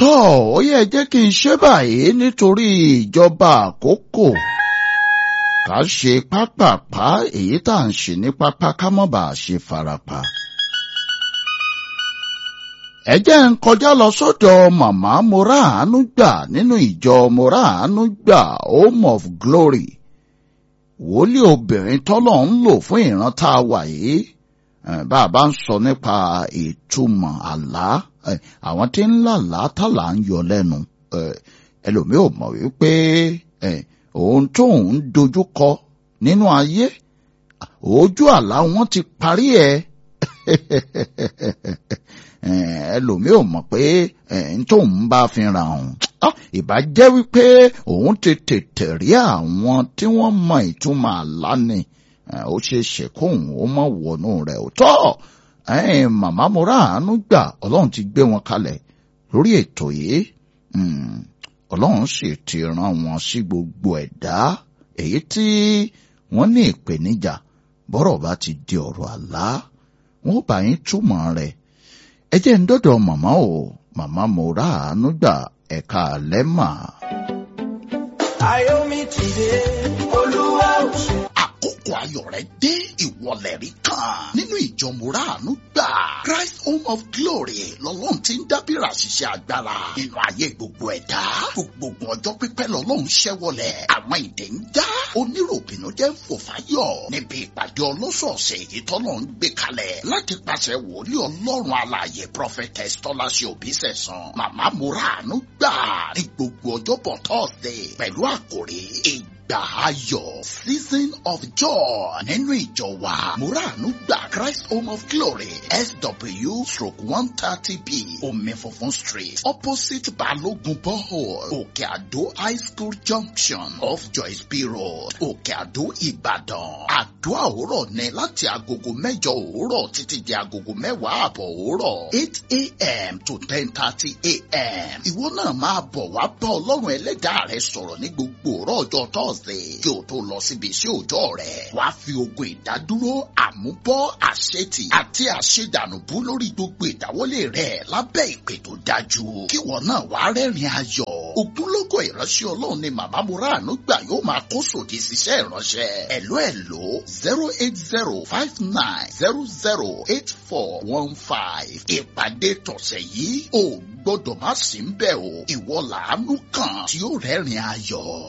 Tọ́ ó yẹ jẹ́ kí n ṣe báyìí nítorí ìjọba àkókò. Ká ṣe pápápá èyí tá à ń ṣe ní pápá ká má bàa ṣe farapa. Ẹ jẹ́ ń kọjá lọ sọ́dọ̀ màmá Moráàánú gbà nínú ìjọ Moráàánú gbà Home of Glory. Wòlíì obìnrin tọ́lọ̀ ń lò fún ìran tá a wà yìí. Bá a bá ń sọ nípa ìtumọ̀ àlá, àwọn tí ń làlá tàlà ń yọ lẹ́nu. Ẹlòmíì ò mọ̀ wípé ohun tóun ń dojú kọ nínú ayé, ojú àlá wọn ti parí ẹ̀. Ẹlòmíì ò mọ̀ pé n tóun bá fi ra òun. Ìbá jẹ́ wípé òun ti tètè rí àwọn tí wọ́n mọ ìtumọ̀ àlá ni. Ó ṣeé ṣe kóun ó mọ̀ wọnú rẹ̀ ò tọ́. Màmá Moráàánú gbà Ọlọ́run ti gbé wọn kalẹ̀ lórí ètò yìí. Ọlọ́run sì ti rán wọn sí gbogbo ẹ̀dá èyí tí wọ́n ní ìpèníjà bọ́rọ̀ bá ti di ọ̀rọ̀ àlá wọn ó bá yín túmọ̀ rẹ̀. Ẹ jẹ́ ń dọ́dọ̀ màmá o, màmá Moráàánú gbà ẹ̀ka àlẹ́ mà. Ayọ̀ mi ti dé, Olúwa ò ṣe. Àkókò ayọ̀ rẹ̀ dé, ìwọlẹ̀ rí kan nínú ìjọ Moráàánú gbà Christ Home of Glory lọ́lọ́run ti ń dábìrà ṣiṣẹ́ agbára nínú ayé gbogbo ẹ̀dá. Gbogbo ọjọ́ pípẹ́ lọ́lọ́run ṣẹ́wọlẹ̀, àwọn ìdè ń já, oníròbìnú jẹ́ ń fò fáyọ̀ níbi ìpàdé ọlọ́sọ̀ọ̀sẹ̀ èyí tọ́lọ́run gbé kalẹ̀ láti pàṣẹ wòlíì Ọlọ́run alààyè Prophetess Tọ́láṣẹ Òbísẹ̀san màmá Moráàánú gbà ní gbogbo ọjọ́bọ̀ Thursday pẹ̀lú àkòrí ìgbà ayọ̀ season of joy nínú ìjọ wa Moráàánú gbà Christ Home of Glory SW/130B Omi Funfun Street opposite Balogun Borehole Òkè Àdó High School Junction off Joyce B Road Òkè Àdó Ìbàdàn. Àdúrà òwúrọ̀ ni láti agogo mẹ́jọ òwúrọ̀ títí di agogo mẹ́wàá àbọ̀ òwúrọ̀ 8 a.m. to 10:30 a.m. Ìwọ náà máa bọ̀ wá bá Ọlọ́run ẹlẹ́dàá rẹ sọ̀rọ̀ ní gbogbo òwúrọ̀ ọjọ́ Thursday kí o tó lọ síbi iṣẹ́ òòjọ́ rẹ̀. Wàá fi ogun ìdádúró, àmúbọ́, àṣetì àti àṣedànùbú lórí gbogbo ìdáwọ́lé rẹ̀ lábẹ́ ìpè tó dájú. Kíwọ náà wàá rẹ́rìn ayọ̀. Ògúnlógó ìránṣẹ́ Ọlọ́run ni màmá Moráàánú gbà yóò máa kó sòdì síṣẹ́ ìránṣẹ́. Ẹ̀ló ẹ̀ló 08059008415. Ìpàdé tọ̀sẹ̀ yìí ò gbọ́dọ̀ má sí ń bẹ̀ o. Ìwọ làánú kan tí ó rẹ́rìn ayọ̀.